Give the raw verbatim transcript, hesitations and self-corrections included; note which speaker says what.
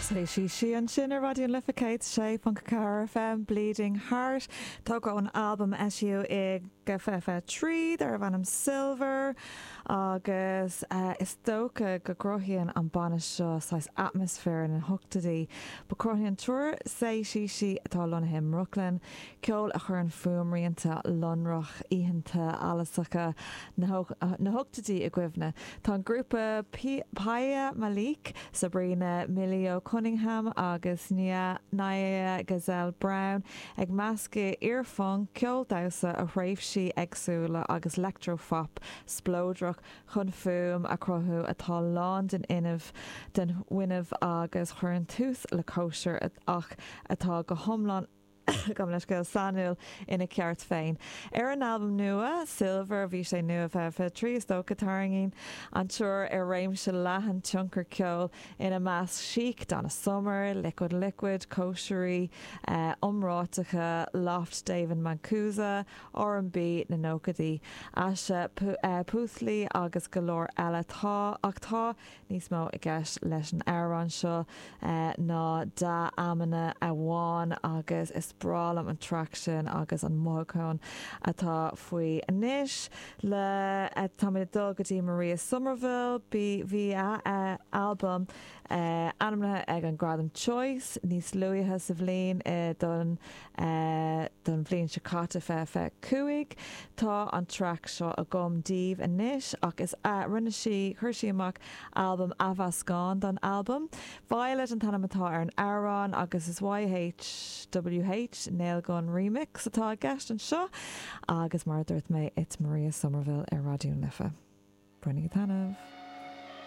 Speaker 1: Say She She ansin ar Raidió na Life céad sé ponc ceathair FM Bleeding Heart Tógtha ón albam eisíodh i fiche fiche trí darbh ainm Silver agus uh, is dócha go gcruthaíonn an banna seo saghas atmaisféar na hochtóidí. Ba cruthaíonn triúr Say She She atá lonnaithe i mBrooklyn, ceol a chuireann fuaimrianta lonrach oícheanta allasacha na hochtóidí i gcuimhne. Tá an grúpa Piya Malik, Sabrina Milio Cunningham agus Nia Nia Gazelle Brown ag meascadh iar-phunk ceol damhsa ó thréimhsí éagsúla agus leictreaphop spleodrach chun fuaim a chruthú atá lán den fhuinneamh den fhuinneamh agus chuireann tús le cóisir ach atá go hiomlán gom leis go sainiúil ina ceart féin. Ar an albam nua Silver bhí sé nua fiche trí is dócha tarraingíonn an triúr ar réimse leathan tionchar ceoil ina measc Chic Donna Summer, Liquid Liquid, cóisirí uh, iomráiteacha Loft David Mancuso, R&B na nóchaidí, Asha uh, Puthli agus go leor eile tá ach tá níos mó i gceist leis an amhrán seo uh, ná dea-amanna amháin agus is breá liom an traic sin agus an mothúchán atá faoi anois le tá dul go dtí Maria Somerville bí bhí a album uh, ainmnithe ag an Gradam Choice níos luaithe sa bhliain uh, don uh, don bhliain seo caite fiche fiche cúig Tá an traic seo agam daoibh anois ach is uh, rinne sí chuir sí amach album athmheascán don album. Violet an t-ainm atá ar an amhrán agus is YHWH Nailgun remix atá i gceist anseo agus mar dúirt mé it's Maria Somerville ar Raidió na Life. Bainígí taitneamh.